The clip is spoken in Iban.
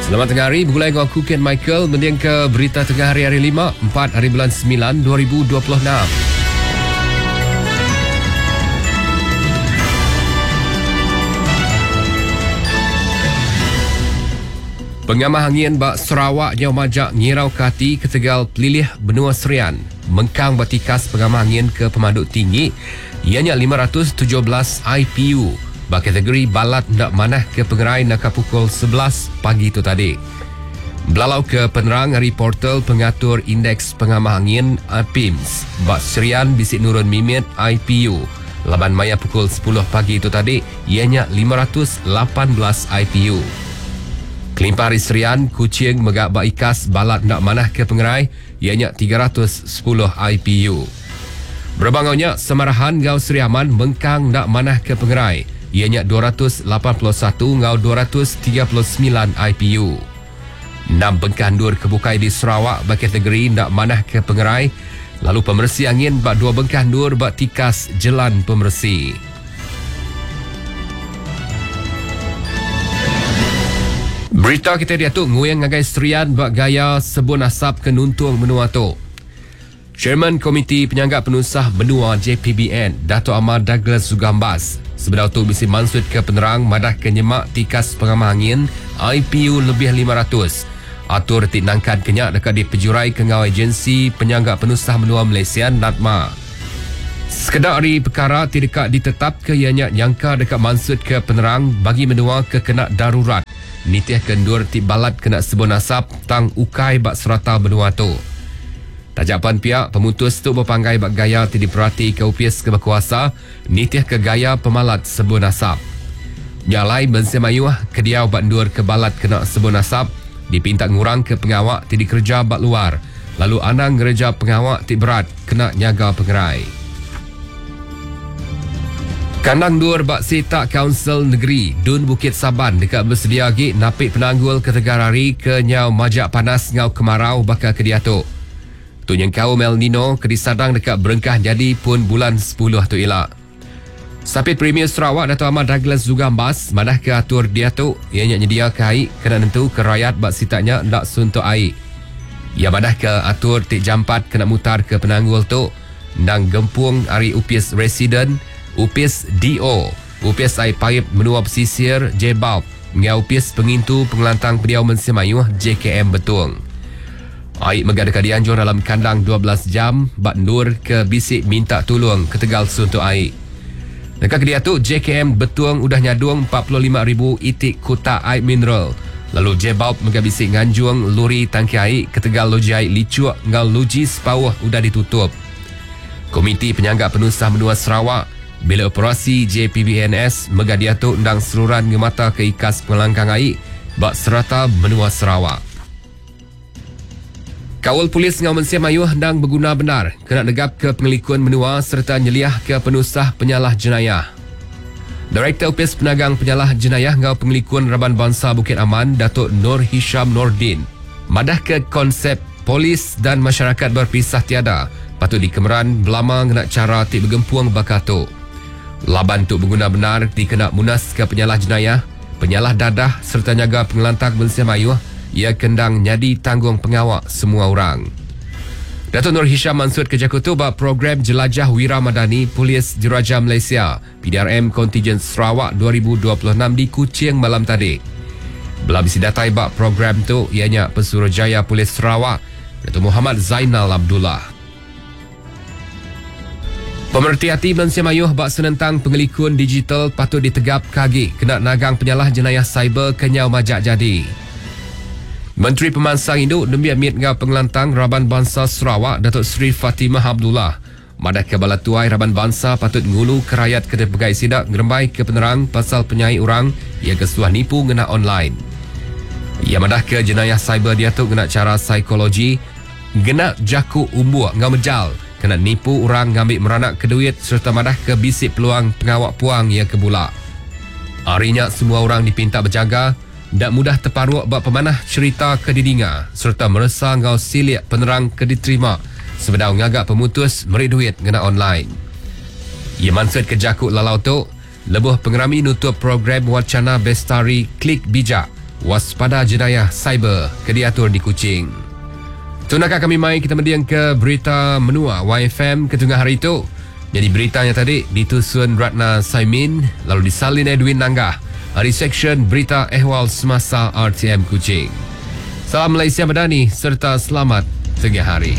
Selamat tengah hari begulai enggau aku Ken Michael mendingka berita tengah hari hari lima, 4 hari bulan 9 2026. Pengamah angin ba Sarawak nyau majak ngirauka ati ketegal pelilih benua Serian mengkang ba tikas pengamah angin ke pemadu tinggi iya nya 517 IPU ba kategori balat enda manah ke pengerai naka pukul 11 pagi tu tadi. Belalau ke penerang ari portal pengatur Indeks Pengamah Angin APIMS ba Serian bisi nurun mimit IPU laban maya pukul 10 pagi tu tadi iya nya 518 IPU. Kelimpah ari Serian, Kuching mega ba ikas balat enda manah ke pengerai iya nya 310 IPU. Berebak enggau nya, Samarahan enggau Sri Aman mengkang enda manah ke pengerai iya nya 281 enggau 239 IPU. Enam bengkah endur ke bukai di Sarawak ba kategori enda manah ke pengerai lalu pemeresi angin ba dua bengkah endur ba tikas jelan pemeresi. Berita kita diatu nguing ngagai Serian ba gaya sebun asap ke nuntung menua tu. Chairman Komiti Penyangga Penusah Menua JPBN, Datuk Amar Douglas Zugambas, sebedau tu bisi mansutka penerang madahka nyema tikas pengamah angin IPU lebih 500. Atur ti nangkanka nya deka dipejuraika enggau Agensi Penyangga Penusah Menua Malaysia, NADMA. Sekeda ari pekara ti deka ditetapka iya nya nyangka deka mansutka penerang bagi menua ke kena darurat nitihka endur ti balat kena sebun asap tang ukai ba serata menua tu. Taja pan pia, pemutus tu bepanggai ba gaya ti diperatika opis ke bekuasa nitihka gaya pemalat sebun asap. Nya alai mensia mayuh ke diau ba endur ke balat kena sebun asap dipinta ngurangka pengawa ti dikereja ba luar lalu anang ngereja pengawa ti berat kena nyaga pengerai. Kandang endur ba sitak Kaunsil Negeri Dun Bukit Saban deka besedia agi napi penanggul ketegal hari ke nyau majak panas enggau kemarau baka ke diatu. Tu nyengkaum El Nino ke disadang deka berengkah nyadi pun bulan 10 tu ila. Sapit Premier Sarawak Datuk Amar Douglas Zugambas madahka atur diatu iya nya nyediaka ai kena nentuka rayat ba sitak nya enda suntuk ai. Iya madahka atur ti jampat kena mutarka penanggul tu endang gempung ari Opis Residen, Opis DO, Opis Ai Paip Menua Pesisir, JBALB, enggau Opis Pengintu Pengelantang Pendiau Mensia Mayuh, JKM, Betong. Ai mega deka dianjung dalam kandang 12 jam ba endur ke bisi minta tulung ketegal suntuk ai. Naka kediatu, JKM Betong udah nyadung 45,000 iti kutak ai mineral lalu JBALB mega bisi nganjung luri tangki ai ketegal loji ai Licuk enggau loji Sepauh udah ditutup. Komiti Penyangga Penusah Menua Sarawak bila operasi JPBNS mega diatu endang seruran ngemataka ikas pengelangkang ai ba serata menua Sarawak. Kaul polis enggau mensia mayuh endang beguna bendar kena negapka pengelikun menua sereta nyeliahka penusah penyalah jenayah. Direktor Opis Penagang Penyalah Jenayah enggau Pengelikun Raban Bansa Bukit Aman Datuk Nur Hisham Nordin madahka konsep polis dan masyarakat berpisah tiada patut dikemeran belama ngena chara ti begempung baka tu. Laban tu beguna bendar dikena munaska penyalah jenayah, penyalah dadah sereta nyaga pengelantang mensia mayuh iya ke endang nyadi tanggung pengawa semua orang. Datuk Nur Hisham mansutka jaku tu ba Program Jelajah Wira Madani Polis Diraja Malaysia, PDRM Kontijen Sarawak 2026 di Kuching malam tadi. Bela bisi datai ba program tu iya nya Pesuruhjaya Polis Sarawak, Datuk Muhammad Zainal Abdullah. Pemereti ati mensia mayuh ba senentang pengelikun digital patut ditegapka agi kena nagang penyalah jenayah siber ke nyau majak jadi. Menteri Pemansang Indu, Nembiak Mit enggau Pengelantang Raban Bansa Sarawak Datuk Seri Fatimah Abdullah madahka bala tuai raban bansa patut nguluka rayat ke dipegai sida ngerembaika penerang pasal penyai orang iya ke suah nipu ngena online. Iya madahka jenayah siber diatu ngena chara psikologi Ngena jaku umbuk enggau mejal kena nipu orang ngambi meranakka duit sereta madahka bisi peluang pengawa puang iya ke bula. Ari nya semua orang dipinta bejaga enda mudah teparuk ba pemanah cherita ke didinga sereta meresa enggau silik penerang ke diterima sebedau ngaga pemutus meri duit ngena online. Iya mansutka jaku lalau tu lebuh pengerami nutup program Wacana Bestari Klik Bijak. Waspada Jenayah Cyber ke diatur di Kuching. Tu naka kami mai kita mending ke berita menua YFM ke tengah hari tu. Jadi beritanya tadi ditusun Ratna Saimin lalu disalin Edwin Nanggah dari Seksyen Berita Ehwal Semasa RTM Kuching. Salam Malaysia Madani serta selamat tengah hari.